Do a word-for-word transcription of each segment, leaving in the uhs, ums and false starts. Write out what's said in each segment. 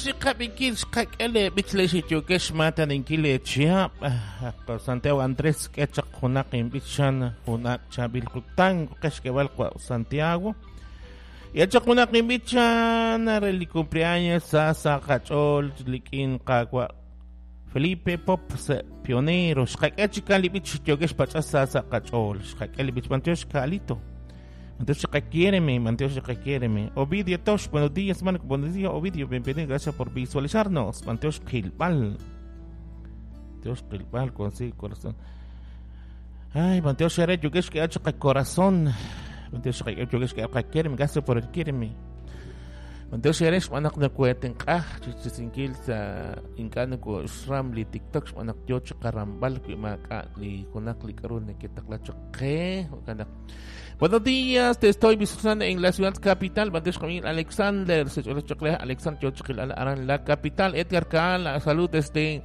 Xqab'inkil xqak'e leeb'ich le xiyukex xmaataninkil leechihab' Santiago Andrés k'e chaq junaq inb'ich xan jun ak' chaab'il kutan qex k'eb'al wa Santiago y chaq junaq inb'ich xan re li cumpleaños sa sa qach'ool lik'in qawa Felipe Pop pionero xqak'e chikan li b'ich xiyukex pach'as sa sa qach'ool xqak'e li b'ich b'antiox Kalito. Entonces, quiéreme, Manteos, quiéreme. Ovidio Tosh, buenos días, Marco, buenos días, Ovidio, bienvenido, gracias por visualizarnos. Manteos Gilbal. Manteos Gilbal, consigue corazón. Ay, Manteos Yukesh, que ha hecho corazón. Manteos Yukesh, que quiéreme, gracias por el quiéreme. Manteos Eresh, manak na kuweten ka, chichisinkil sa inkano ko shram li TikTok, manak yo chikarambal, kuimaka li kunak li karun, kitakla chake, kanak. Buenos días, te estoy visualizando en la ciudad capital. Alexander, Alexander Aran, la capital. Edgar Kaala, salud desde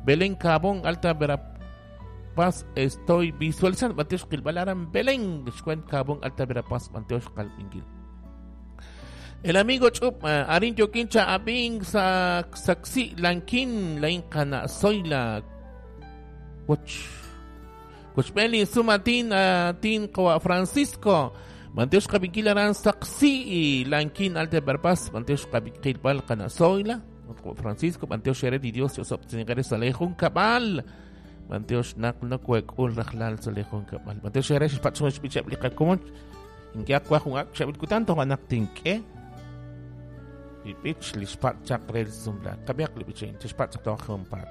Belén Cabón, Alta Verapaz. Estoy visualizando. Aran Belén, Cabón, Alta Verapaz, El amigo Chup, Arin Yokincha, Abing, Saxi, Lanquín, Lain Kana, Soyla, Watch. Kuchmeli sumatin tin kawa Francisco Manteos kabinkilaran saksi lankin alte berpas Manteos kabinkilbal kana soila Francisco Manteos shere di Dios yosop tsingare salejun kabal Manteos nak no kwek ul rahlal salejun kabal Manteos shere patsun bichab liqakumon inke akwa jun ak chabil kutanto anak tinke Ipich lishpat chakrel zumla kabiak libichen tishpat chak pat.